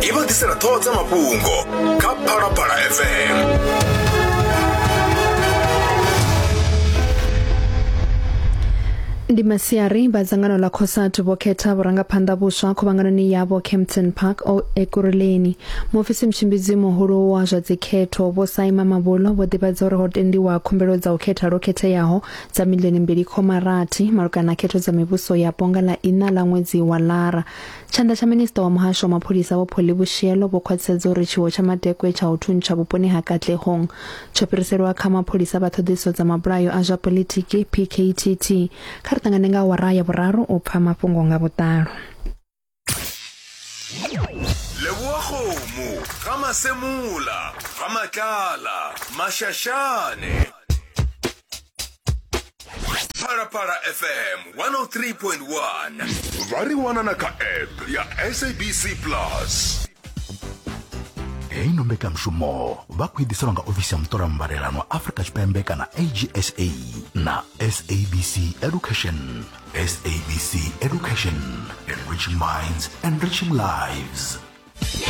I vha ḓisela ṱhoho dza mafhungo kha Phalaphala FM. Ndi masiari vha dzangano ḽa COSATU vho khetha vhurangaphanḓa vhuswa khuvhanganoni yavho Kempton Park o Ekurhuleni. Muofisi mutshimbidzi muhulu wa zwa dzikhetho Vho Saima Mabolo vho ḓivhadza uri ho tendiwa khumbelo dza u khetha lwo khetheaho dza miḽioni mbili khoma rathi malugana na khetho dza mivhuso yapo nga ḽa iṋa ḽa ṅwedzi wa Lara. Tshanḓa tsha minisiṱa wa muhasho wa mapholisa Vho Polly Boshielo vho khwaṱhisedza uri tshiwo tsha madekwe tsha u thuntsha vhuponi ha Katlehong tsho fhiriselwa kha mapholisa vha ṱhoḓisiso dza mabulayo a zwa poḽitiki PKTT. Kha ri ṱangane nga awara ya vhuraru u pfa mafhungo nga vhuḓalo. Leboa Kgomo, Ga Masemola, Ga Matlala, Mashashane. Phalaphala FM 103.1. Vha ri wana na kha app ya SABC Plus. Heino mbekanmushumo vha khou i ḓiselwa nga ofisi ya muṱola mbalelano wa Afrika Tshipembe kana AGSA na SABC Education. SABC Education, enriching minds, enriching lives.